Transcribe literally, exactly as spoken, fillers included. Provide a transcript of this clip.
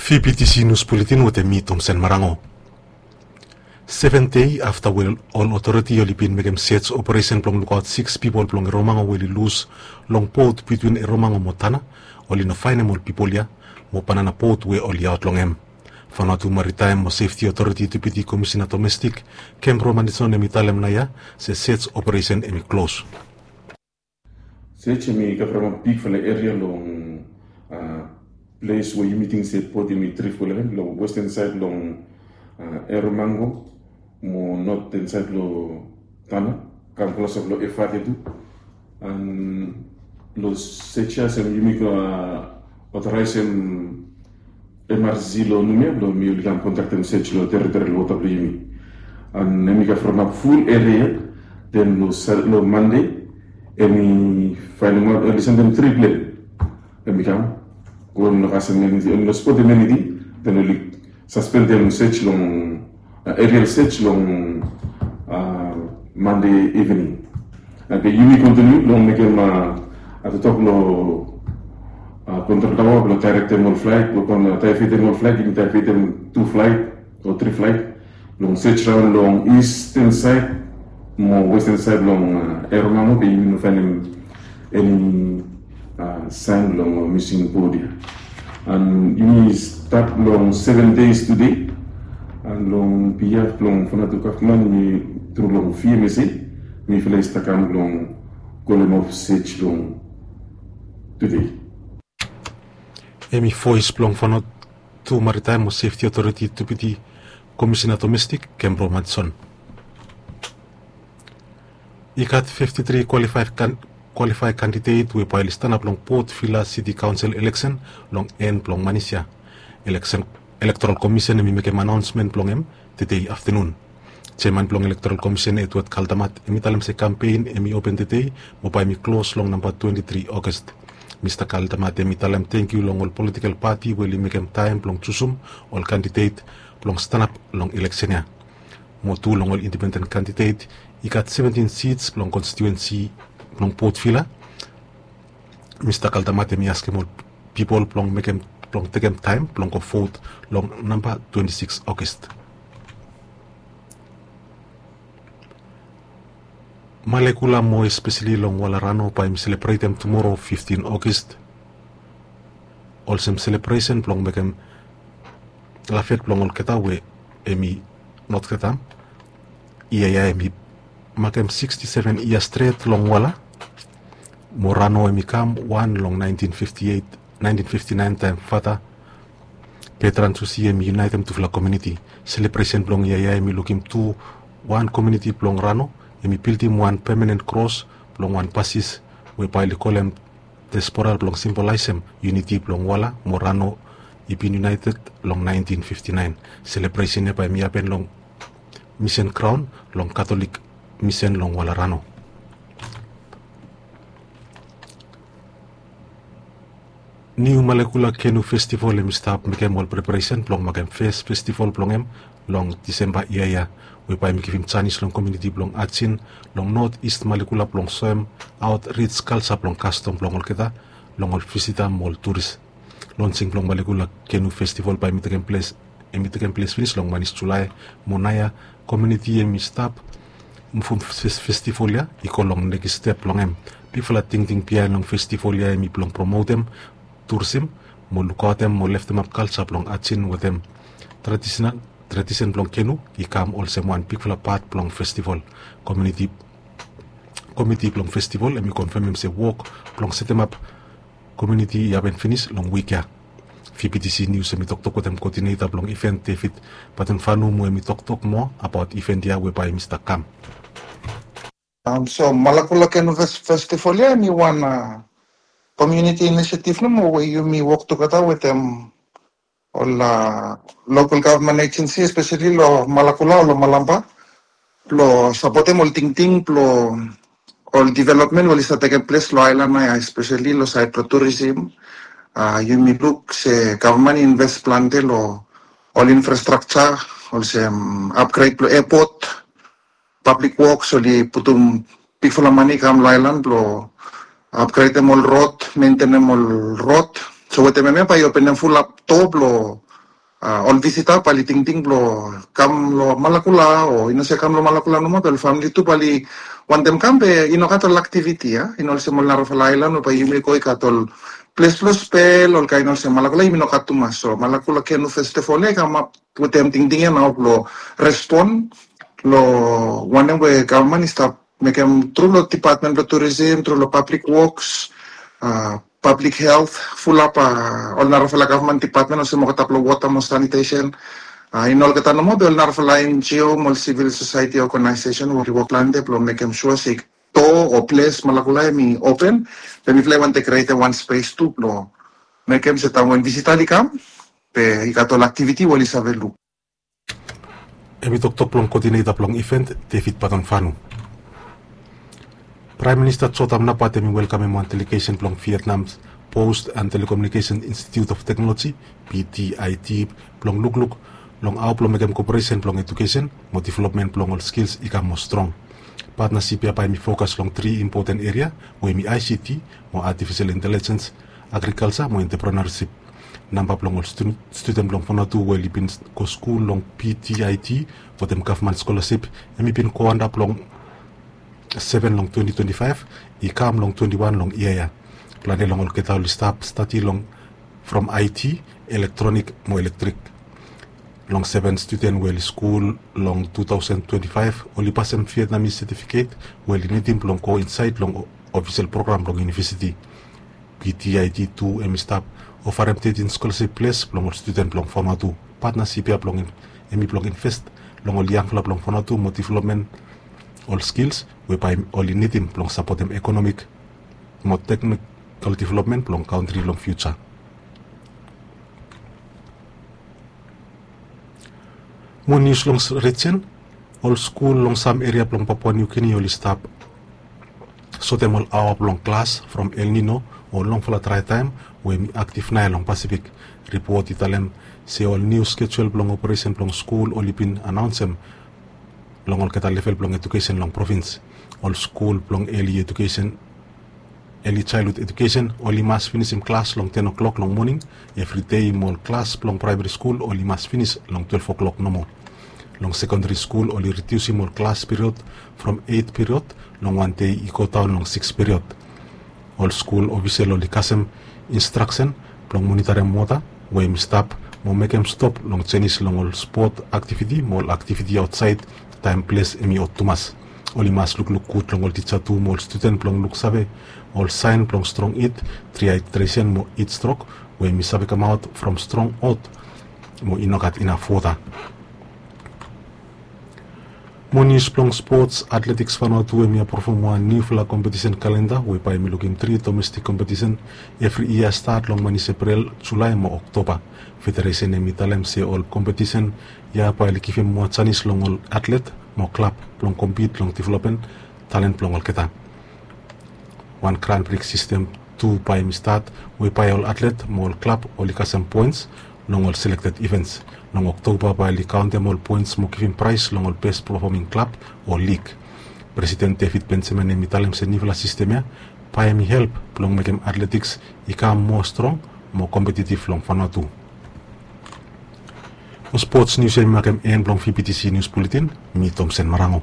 V B T C News Bulletin wetem mi, Tomsen Marango. Seven dei afta we ol otoriti oli bin mekem search operation blong lukaot six pipol blong Eromango we oli lus long bot bitwin Eromango mo Tanna, oli no faenem ol pipol ya mo banana bot we oli aot long hem. Vanuatu Maritime mo Safety Authority Deputy Commissioner Domestic, Kembro Manison, hemi talem naoia se search operation hemi klos. Search hemi kavaramap bigfala eria long ples we yumi ting se bot hemi drif go long hem, long western saed long Eromango mo northern saed long Tanna, kam klosap long Efate tu. An long search ya se yumi go otoraesem M R C long Numea blong hemi oli kam kondaktem search long teritorial wota blong yumi. An hemi kavaramap ful eria. Den long Mande hemi faenemaot oli sendem tri plen. Hemi kam go, hemi no kasem eniting, hemi no spotem eniting. Den oli saspendem search long, aerial search long Mande ivening. Be yumi kontiniu long mekem, a, toktok long kontrol taoa blong daerektem ol flaet, blong kon daevetem ol flaet. Yumi daevetem tu flaet o tri flaet blong search raon long eastern saed mo western saed long Eromango, be yumi no faenem eni saen blong mising bot ya. An yumi stat long seven days tede. An long behalf blong Vanuatu gavman, mi tru long V M S A, mifala i stap kam blong kolemap search blong tede. Hemi voes blong Vanuatu Maritime mo Safety Authority Deputy Commissioner Domestic, Kembro Manison. I gat fifty three qualified candidates we bae oli stanap long Port Vila City Council election long en blong manis ya. Electoral Commission hemi mekem anaonsmen blong hem tede aftenun. Jeaman blong Electoral Commission, Edward Kaldamat, hemi talem se kampen hemi open tede mo bae hemi klos long namba twenti tri August. Mista Kaldamat hemi talem tangkiu long ol politikel pati we oli mekem taem blong jusum ol kandidet blong stanap long eleksen ya. Mo tu long ol indipenden kandidet, i gat seventin sits blong konstitiuensi blong Port Vila. Mista Kaldamat hemi askem ol pipol blong mekem, blong tekem taem blong go vot long namba twenti sikis August. Malekula mo espeseli long Walarano bae hemi selebretem tumoro fiftin August olsem selebresen blong mekem lafet blong olgeta we hemi notgeta. Ia ya hemi makem siksti seven yia stret long Wala mo Rano hemi kam wan long naentin fifti eit, naentin fifti naen taem Fata Petran Susi hemi yunaetem tufala komuniti. Selebresen blong ia ya hemi lukim tu wan komuniti blong Rano hemi bildim wan pemanen kros blong wan basis we bae oli kolem diaspora blong simbolaesem yuniti blong Wala mo Rano i bin yunaeted long naentin fifti naen. Selebresen ya bae hemi hapen long Misen Graon long Katolik Misen long Walarano. Niu Malekula Kenu Festival hemi stap mekem ol preparesen blong makem fes festival blong hem long Disemba ia ya, we bae hemi givim janis long komuniti blong Ajen long Not Ist Malekula blong soem aot rij kalja blong kastom blong olgeta long ol visita mo ol turis. Lonsing blong Malekula Kenu Festival bae hemi tekem ples, hemi tekem ples finis long manis Julae, mo naoia komuniti hemi stap muvum festival ya i go long nekis step blong hem. Bigfala tingting biaen long festival ya hemi blong promotem turisim mo lukaotem mo leftemap kalja blong Ajen wetem tradisen blong Kenu i kam olsem wan bigfala pat blong festival. Komuniti, komiti blong festival hemi konfemem se wok blong setemap komuniti i hapen finis long wik ya. V B T C News hemi toktok wetem koodineta blong iven David Batemfanu mo hemi toktok moa abaot iven ya we bae hemi stap kam. So Malekula Kenu Festival ya hemi wan komuniti inisiativ nomo we yumi wok tugeta wetem ol lokal gavman ejensi, espeseli long Malekula o long Malampa, blong sapotem ol tingting blong ol developmen we oli stap tekem ples long aelan ya, espeseli long saed blong turisim. Yumi luk se gavman i inves plante long ol infrastrakja olsem apgred blong epot, pablik woks, oli putum bigfala mane i kam long aelan blong apgredem ol rod, mentenem ol rod. So wetem hemia bae i openem fulap doa blong ol visita bae oli tingting blong kam long Malakula o i no se kam long Malakula nomo be ol famili tu bae oli wantem kam be i no gat ol aktiviti ya, i no olsem ol narafala aelan we bae yumi go i gat ol ples blong spel olkaen olsem. Malakula yumi no gat tumas, so Malakula Canoe Festival ya i kamap wetem tingting ya nao blong respon long wanem we gavman i stap mekem tru long dipatmen blong turisim, tru long pablik woks, pablik helt, fulap ol narafala gavman dipatmen olsem olgeta blong wota mo sanitesen. I no olgeta nomo be ol narafala NGO mo ol sivil sosaeti ogenaesesen we oli wok plante blong mekem sua se do o ples Malakula hemi open, be mifala i wantem krietem wan spes tu blong mekem se taem we visita oli kam be i gat ol aktiviti we oli save luk. Hemi toktok blong koodineta blong iven, David Batonfanu. Praem Minista Jotham Napat hemi welkamem wan delegesen blong Vietnam Post and Telecommunication Institute of Technology, PTIT, blong lukluk long hao blong mekem koperesen blong ejukesen mo developmen blong ol skils i kam moa strong. Patnasip ya bae hemi fokas long tri impoten eria we hemi ICT mo artifisel intelijens, agrikalja mo enteprenersip. Namba blong ol studen blong Vanuatu we oli bin go skul long PTIT wetem gavman skolasip hemi bin go antap long seven long twenti twenti faef i kam long twenti wan long yia ya. Plante long olgeta oli stap stadi long from IT, elektronik mo elektrik. Long seven studen we oli skul long tu taosen twenti faef oli pasem Vietnamese setifiket we oli nidim blong go insaed long ofisel program blong yunivesiti. PTIT tu hemi stap ofarem tetin skolasip ples blong ol studen blong Vanuatu. Patnasip ya blong hemi blong invest long ol yangfala blong Vanuatu mo developmen ol skils we bae oli nidim blong sapotem ekonomik mo teknikal developmen blong kantri long fiuja. Mo nius long rijen, ol skul long sam eria blong Papua Niu Gini oli stap sotem ol aoa blong klas from El Nino o longfala drae taem we hemi aktif naoia long Pasifik. Ripot i talem se ol niu skejuel blong operesen blong skul oli bin anaonsem long olgeta level blong ejukesen long provins. Ol skul blong eli ejukesen, eli jaelhud ejukesen oli mas finisim klas long ten o'clock long moning evri dei mo ol klas blong praemari skul oli mas finis long twelef o'clock nomo. Long sekondari skul oli ridiusim ol klas period from eit period long wan dei i godaon long sikis period. Ol skul ofisel oli kasem instraksen blong monitarem wota we hemi stap mo mekem stop long jenis long ol spot aktiviti mo ol aktiviti aotsaed taem ples hemi ot tumas. Oli mas lukluk gud long ol tija tu mo ol studen blong luksave ol saen blong strong it, dihydresen mo itstrok we hemi save kamaot from strong ot mo i no gat inaf wota. Mo nius blong spots, Atletiks Vanuatu hemi apruvum wan niufala kompetisen kalenda we bae hemi lukim tri domestik kompetisen evri yia stat long manis Eprel, Julae mo Oktoba. Federesen hemi talem se ol kompetisen ya bae oli givim moa janis long ol atlet mo klab blong kompit long developmen talen blong olgeta. Wan Grand Prix sistem tu bae hemi stat we bae ol atlet mo ol klab oli kasem poens long ol selekted ivens. Long Oktoba bae oli kaontem ol poens mo givim praes long ol bes pefoming klab o lig. Presiden David Benjamin hemi talem se niufala sistem ya bae hemi help blong mekem atletiks i kam moa strong mo kompetitiv long Vanuatu. Mo spots nius ya hemi makem en blong VBTC Nius Buletin. Mi Tomsen Marango.